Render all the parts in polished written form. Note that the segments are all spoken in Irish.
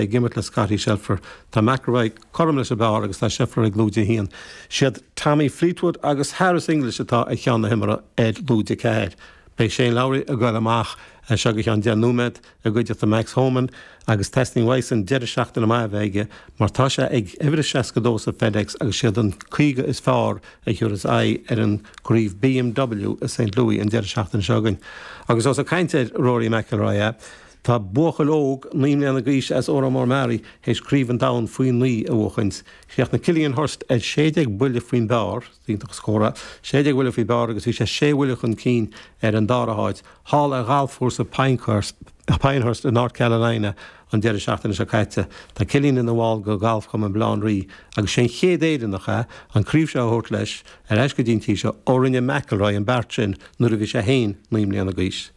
Ag imirt le Scottie Scheffler. Tá McIlroy cothrom leis an bpar agus tá Scheffler ag lúide 1. Siad Tommy Fleetwood agus Harris English atá ag ceann na himeartha ar lúide 4. Beidh Shane Lowry ag goil amach as seo go ceann 10 nóiméad i gcuideachta Max Homan agus teastaíonn uaidhsean deireadh seachtaine maith a bheith aige mar tá sé ag uimhir a 62 sa FedEx agus siad an 50 is fearr a thiúrfas aghaidh ar an gcraobh BMW i St Louis an deireadh seachtaine seo chugainn. Agus ós ag caint ar Rory McIlroy é, Tá buachaill óg, 9 mbliana d'aois as Órán Mór Meáraí, théis Craobh an Domhain faoi 9 a bhuachaint. Chríochnaigh Cillian Hurst ar 16 buille faoin bpar, iontach an scór é, 16 bhuille faoi bpar agus bhí sé sé bhuille chun cinn ar an dara háit, thall ar ghalfchúrsa Pinehurst i North Carolina an deireadh seachtaine seo caite. Tá Cillian ina bhall de Ghalfchumann Bhaile Átha an Rí agus sé an chéad Éireannach é an craobh seo a thabhairt leis ar ais go dtí an tír seo ó rinne McIlroy an beart sin nuair a bhí sé féin 9 mbliana d'aois.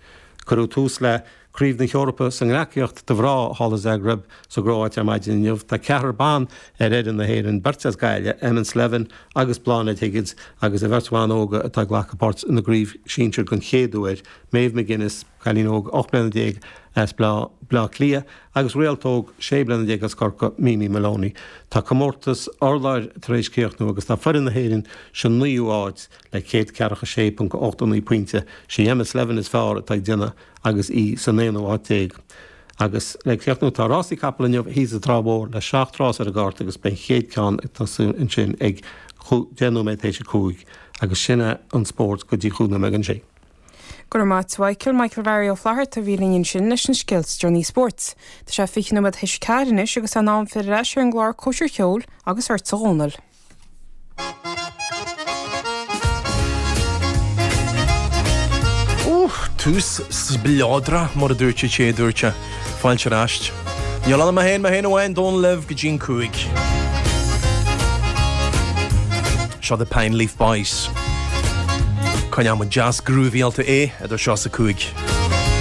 Cuireadh tús le Craobh na hEorpa sa ngleacaíocht do mhná thall i Zagreb sa gCróit ar maidin inniu. Tá ceathrar ban ar fhoireann na hÉireann, beirt as Gaillimh, Emma Slevin agus Bláthnaid Higgins, agus an bheirt bhan óga atá ag glacadh páirt ina gcraobh sinsir den chéad uair, Maeve McGuinness, cailín óg 18 bliana as Baile Átha Cliath, agus réalt óg 16 bliana as Corcaigh, Mimi Moloney. Tá comórtas urláir tar éis críochnú agus tá foireann na hÉireann sa naoú háit le 146.89 pointe. Sí Emma Slevin is fearr atá ag déanamh agus í san aonú háit déag. Agus le críochnú, tá rásaí capall inniu thíos sa Trá Mhór le seacht rás ar an gcárta agus beidh an chéad ceann ag tosú ansin ag 10 nóiméad théis a 5 agus sin é an spórt go dtí chúig nóiméad don sé. Go raibh maith a't Mhichael, Michael Bharry Ó Flatharta a bhí linn ansin leis na scéalta is deireanaí spóirt. Tá sé 20 nóiméad théis a 4 anois agus é in am filleadh ar ais ar an gclár Cóisir Cheoil agus ortsa a Dhónaill. Ó, tús spleodrach, mar a dúirt an té a dúirt é. Fáilte ar ais. Níl ann ach mé féin, mé féin amháin, Dónal libh go dtí an 5. Seo The Pine Leaf Boys. Coinneoidh muid deas grúvaíálta é idir seo is a 5.